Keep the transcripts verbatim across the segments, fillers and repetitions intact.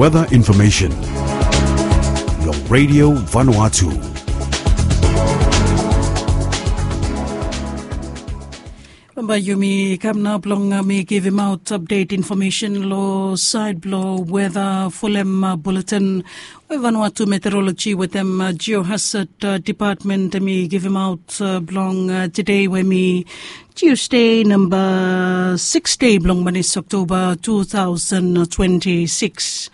Weather information long Radio Vanuatu. Bambae yumi kam nao blong mi givimaot apdet infomesen long saed blong weta folem buletin we Vanuatu Meteoroloji wetem Geohazard Dipatmen hemi givimaot blong tede we hemi Tiusde namba sikis dei blong manis Oktoba tu taosen twenti sikis.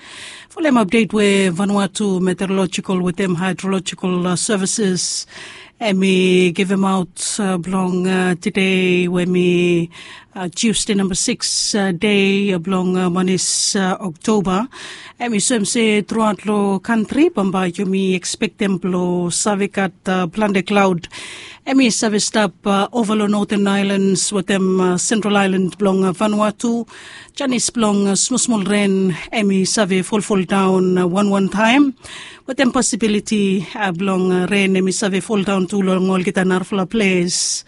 Folem apdet we Vanuatu Meteorolojical wetem Haedrolojical Sevises hemi givimaot blong tede we hemi Tiusde namba sikis dei blong manis Oktoba. Hemi soem se truaot long kantri bambae yumi ekspektem blong save gat plante klaod hemi save stap ova long Noten Aelans wetem Sentral Aelan blong Vanuatu. Janis blong smolsmol ren hemi save folfoldaon wanwan taem wetem posibiliti blong ren hemi save foldaon tu long olgeta narafala ples.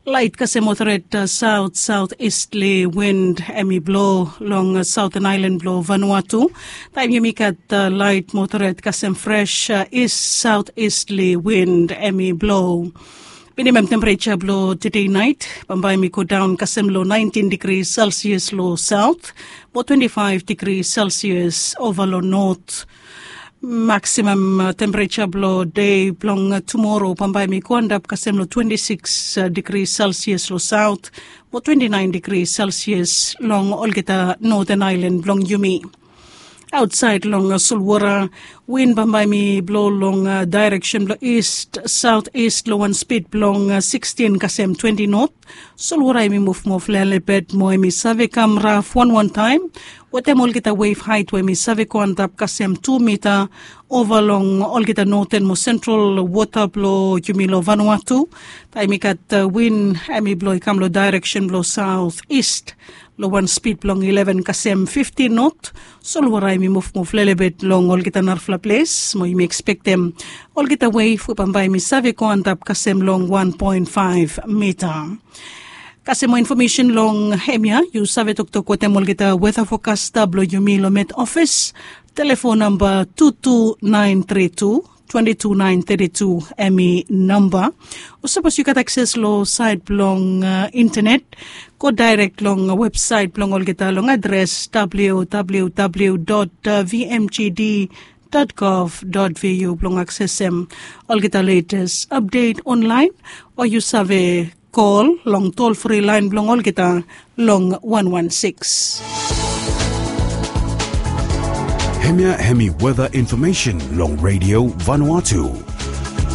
Laet kasem moderet saot saot istli wind hemi blo long Saoten Aelan blong Vanuatu. Taem yumi gat laet moderet kasem fres ist saot istli wind hemi blo. Minimam tempereja blong tede naet bambae hemi godaon kasem long naentin digri selsias long saot mo twenti faef digri selsias ova long not. Maksimam tempereja blong dei blong tumoro bambae hemi go antap kasem long twenti sikis digri selsias long saot mo twenti naen digri selsias long olgeta Noten Aelan blong yumi. Aotsaed long solwora, win bambae hemi blo long daereksen blong ist saot ist long wan spid blong sikstin kasem twenti not. Solwora hemi muvmuv lelebet mo hemi save kam raf wanwan taem wetem olgeta wef haet we hemi save go antap kasem tu mita ova long olgeta noten mo sentral wota blong yumi long Vanuatu. Taem i gat win hemi blo i kam long daereksen blong saot ist long wan spid blong ileven kasem fiftin not. Solwora hemi muvmuv lelebet long olgeta narafala ples mo yumi ekspektem olgeta wef we bambae hemi save go antap kasem long wan poen faef mita. Kasem moa infomesen long hemia yu save toktok wetem olgeta weta fokasta blong yumi long Met Ofis. Telefon namba tu tu naen tri tu twenti tu naen teti tu hemi namba. O sapos yu gat akses long saet blong intenet, go daerek long websaet blong olgeta long adres www vmgd gov vu blong aksesem olgeta letes apdet onlaen. O yu save kol long tolfri laen blong olgeta long wan wan sikis. Hemia hemi weta infomesen long Radio Vanuatu.